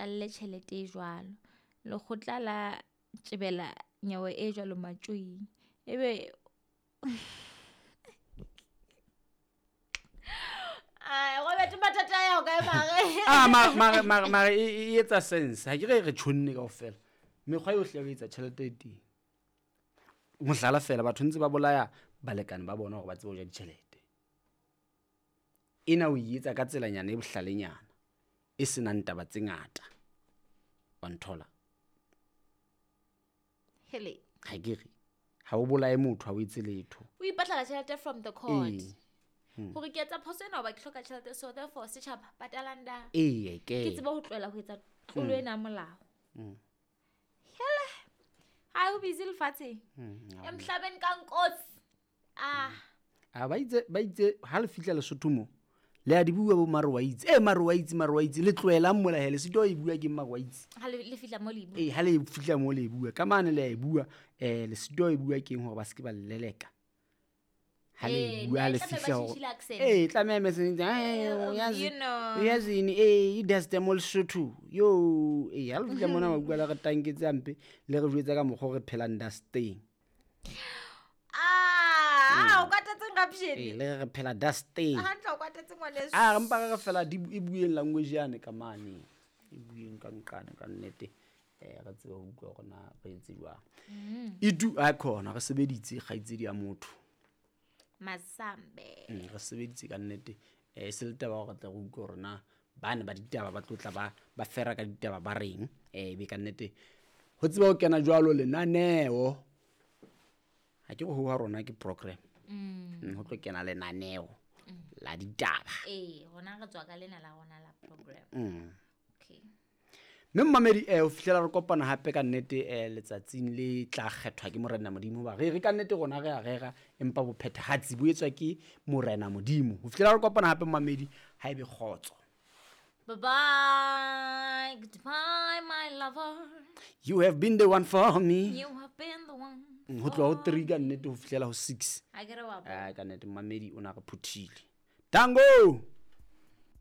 patalle tjhelete e jwalo. Lekgotla la tjebela nyewe e jwalo matjoing. Ebe Ai, Robert mathata a ya ho kae mare? Ah, mare mare mare mare e e etsa sense. Ha ke re re tjhonne kaofela. Mekgwa yohle ya ho etsa tjhelete e teng. Mohlala fela batho ntse ba bolaya balekane ba bona hore ba tsebe ho ja ditjhelete. Ena o e etsa ka tselanyana e bohlalenyana e senang taba tse ngata. Wa nthola? Hele. Ha ke re ha o bolaye motho ha o etse letho. O ipatlela tjhelete from the court. Ee. Hore ke etsa phoso ena hoba ke hloka tjhelete so therefore setjhaba patalang da. Ee, ke. Ke tsebe ho tlohela ho etsa tlolo ena ya molao. Hele. Ha ho busy lefatsheng. Emhlabeni ka nkosi. Ah. A ba itse ba itse ha le fihla Lesotho mo le a di bua bo mare wa itse. Eh mare wa itse mare wa itse le tlohelang mola hele sito e bua ke mare wa itse. Ha le le fihla mo le bua. Ee ha le fihla mo le e bua ka mane le a e bua eh le sito e bua keng hore ba se ke ba le leleka. Ha le Eh, e bua ha ne, le tlameha ba fihla hore tjhentjhile accent. ee tlameha mese You know. uyazini ee i-dust mo Lesotho yo ee ha le fihla mona ba bua le re tanketse hampe le re jwetsa ka mokgwa o re phelang dusteng. Ah, o kwatetseng Rapshane? Ee le re re phela dusteng. Hantle o kwatetse ngwaneso. A re mpa re re fela di e bueng language yane ka mane. E bueng ka nqane ka nnete. Eh re tsebe ho utlwa hore na re etse jwang. Itu a khona re sebeditse kgaitsedi ya motho. Masambe. Re sebeditse ka nnete. Eh e se le taba ya hore re tle re utlwe hore na bane ba ditaba ba tlo tla ba ba fera ka ditaba ba reng. Eh ebe ka nnete ho tseba ho kena jwalo lenaneo. Ha ke re ho ha rona ke program. Ho tlo kena lenaneo la ditaba. Ee, rona re tswa ka lena la rona la program. Okay. Mme mmamedi ho fihlela re kopana hape ka nnete letsatsing le tla kgethwa ke Morena Modimo hoba re re ka nnete rona re a rera empa bophethahatsi bo etswa ke Morena Modimo. Ho fihlela re kopana hape mmamedi ha ebe kgotso. Bye bye. Goodbye my lover. You have been the one for me. You have been the one. Ho tloha ho 3 ka nnete ho fihlela ho 6. Ha ke re wa bona. Ah ka nnete mmamedi o na re phuthile. Tango.